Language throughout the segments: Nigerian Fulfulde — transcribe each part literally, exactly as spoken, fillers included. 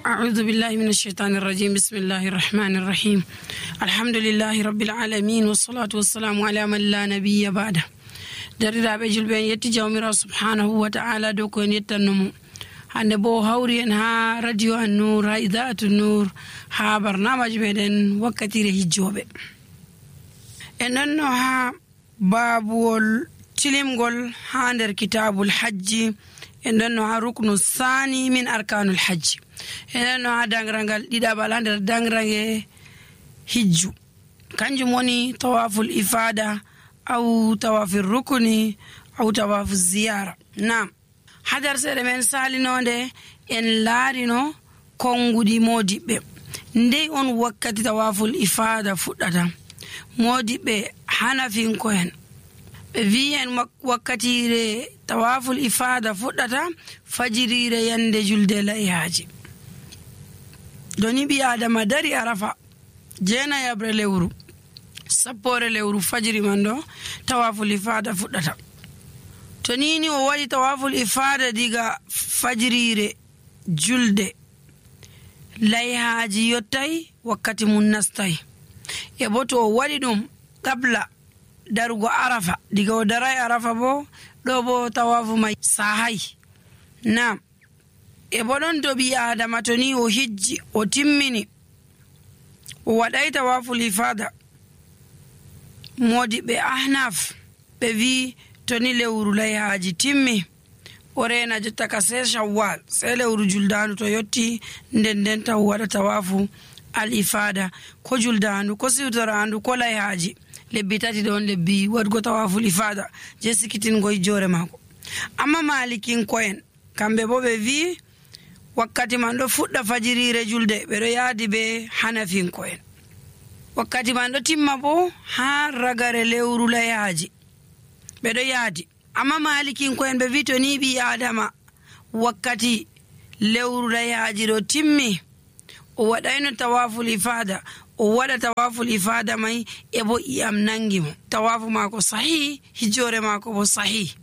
أعوذ بالله من الشيطان الرجيم بسم الله الرحمن الرحيم الحمد لله رب العالمين والصلاة والسلام على من لا نبي بعده درiraɓe julɓe en yetti jawmirawo subhanahu wa ta'ala dow ko en yettannomo hande bo hawri en ha radio an nour ha idaatu nour ha barnamaji meɗen wakkatire hijjoɓe en ɗonno ha babuwol tilimgol ha nder kitabul hajji en ɗonno ha ruknu sani min arkanul hajji en ɗonno ha dangrangal ɗiɗaɓal ha nder dangrange hijju kanjum woni tawaful ifada aw tawafir rukuni aw tawafu ziyara. Nam hadar seɗe men salinode en laarino konguɗi modiɓɓe ndey on wakkati tawaful ifada fuɗɗata. Modiɓɓe hanafinko en ɓe wi en wakkatire tawaful ifada fuɗɗata fajirire yande julde layhaji. Doni ɓi adama dari arafa jeenayabre lewru sappore lewru fajiri man ɗo tawaful ifada fuɗɗata. To nini o waɗi tawaful ifada diga fajirire julde layhaji yottai wakkati mum nastai, e bo to o waɗi ɗum qabla darugo arafa diga o darai arafa bo ɗo bo tawafu mai sahai. Nam e bo ɗon to ɓi adama to ni o hijji o timmini o waɗai tawaful ifada, modi ɓe ahnaf ɓe wi to ni lewru layhaji timmi o rena jotta ka sai shawwal sai lewru juldandu to yotti nden nden taw waɗa tawafu al ifada ko juldandu ko siwtorandu ko layhaji lebbi tati ɗon lebbi waɗgo tawaful ifada je sikitingo jore mako. Amma malikinko'en kamɓe bo ɓe wi wakkati man ɗo fuɗɗa fajirire julde ɓeɗo yaadi be hanafinko'en, wakkati man ɗo timma bo ha ragare lewru layhaji ɓeɗo yaadi. Amma malikinko'en ɓe wi to ni ɓi adama wakkati lewru layhaji ɗo timmi o waɗayno tawaful ifada o waɗa tawaful ifada mai e bo iyam nangi mo tawafu mako sahi hijjore mako bo sahi.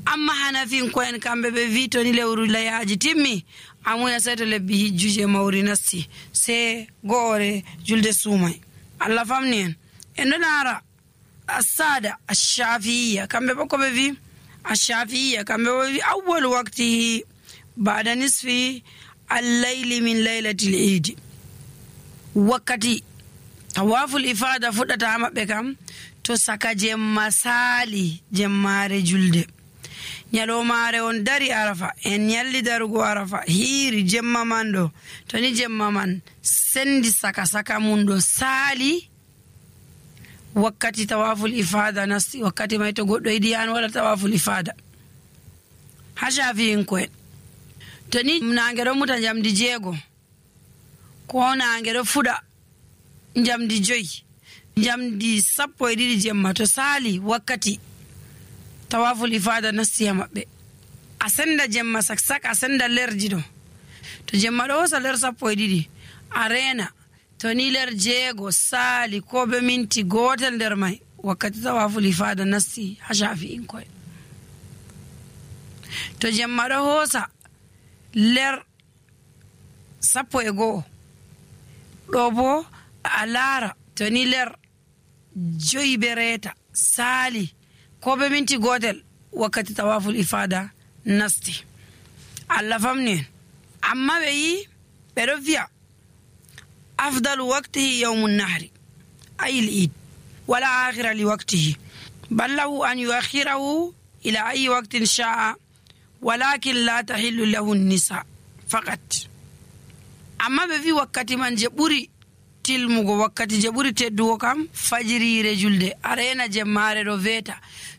Amma hanafinko'en kamɓe ɓe wi to ni lewru layhaji timmi amuya sai to lebbi hijjuje mawri nasti sai go'ore julde sumai. Allah famni en en ɗo nara asada ashafiya kamɓe bo ko ɓe wi ashafiya kamɓe bo wi awwal waqtihi ba'da nisfi al-layli min laylatil eid. Wakkati tawaful ifada fuɗɗata ha maɓɓe kam to saka jemma sali jemmare julde nyalomare on dari arafa en nyalli darugo arafa hiiri jemma man ɗo to ni jemma man sendi saka saka mum ɗo sali wakkati tawaful ifada nasti. Wakkati mai to goɗɗo yiɗi an waɗa tawaful ifada ha shafi'inko'en to ni nange ɗo muta jamdi jeego ko nange ɗo fuɗa jamdi joyi jamdi sappo e ɗiɗi jemma to sali wakkati tawaful ifada nasti ha maɓɓe a senda jemma saksak a senda lerji ɗo to jemma ɗo hosa ler sappo e ɗiɗi a rena to ni ler jeego sali ko be minti gotel nder mai wakkati tawaful ifada nasti ha shafi'inko'en. To jemma ɗo hosa ler sappo e go'o ɗo bo a lara to ni ler joyi be reta sali ko be minti gotel wakkati tawaful ifada nasti. Allah famni en. Amma ɓe yi ɓeɗo wiya afdalu waqtihi yawmun nahri ayil eid wala akhira li waqtihi bal lahu an yuakhirahu ila ayi waqtin sha'a walakin la tahillu lahu nisa faqat. Amma ɓe wi wakkati man je ɓuri tilmugo wakkati je ɓuri teddugo kam fajirire julde arena jemmare ɗo veta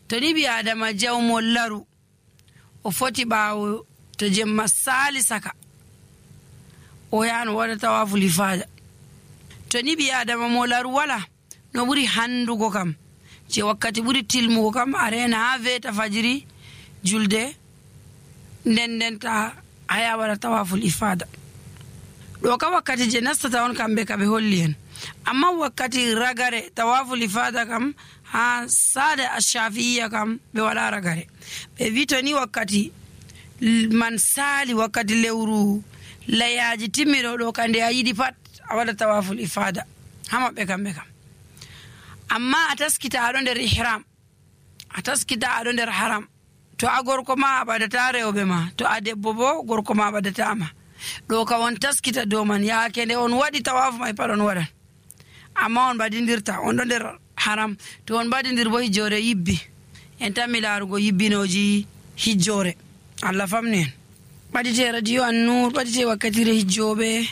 to ni ɓi adama jawmo laru o foti ɓawo to jemma sali saka o yano waɗa tawaful ifada. To ni ɓi adama mo laru wala no ɓuri handugo kam je wakkati ɓuri tilmugo kam arena ha veta fajiri julde nden ndenta aya waɗa tawaful ifada. ɗo ka wakkati je nastata on kamɓe kaɓe holli en. Amma wakkati ragare tawaful ifada kam ha sada ashafiya kam ɓe waɗa ragare ɓe wi to ni wakkati man sali wakkati lewru layaji timmiɗo ɗo kande a yiɗi pat a waɗa tawaful ifada ha maɓɓe kamɓe kam. amma a taskita aɗo nder ihram, a taskita aɗo nder haram, to a gorko ma a ɓadata rewɓe ma, to a debbo bo gorko ma ɓadatama. ɗo ka on taskita dow man, yaake nde on waɗi tawafu may pat on waɗan, amma on ɓadindirta on ɗo nder haram. to on ɓadindir bo hijjore yibbi, en tammi laarugo yibbinoji hijjore. Allah famni en. ɓadite radio An-Nur, ɓadite wakkatire hijjoɓe,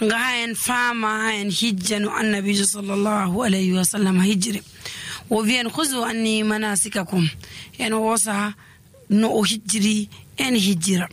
nga ha en fama ha en hijja no annabijo sallallahu alayhi wa sallam hijjiri. o wi en khuzu anni manasikakum, en wosa no o hijjiri en hijjira.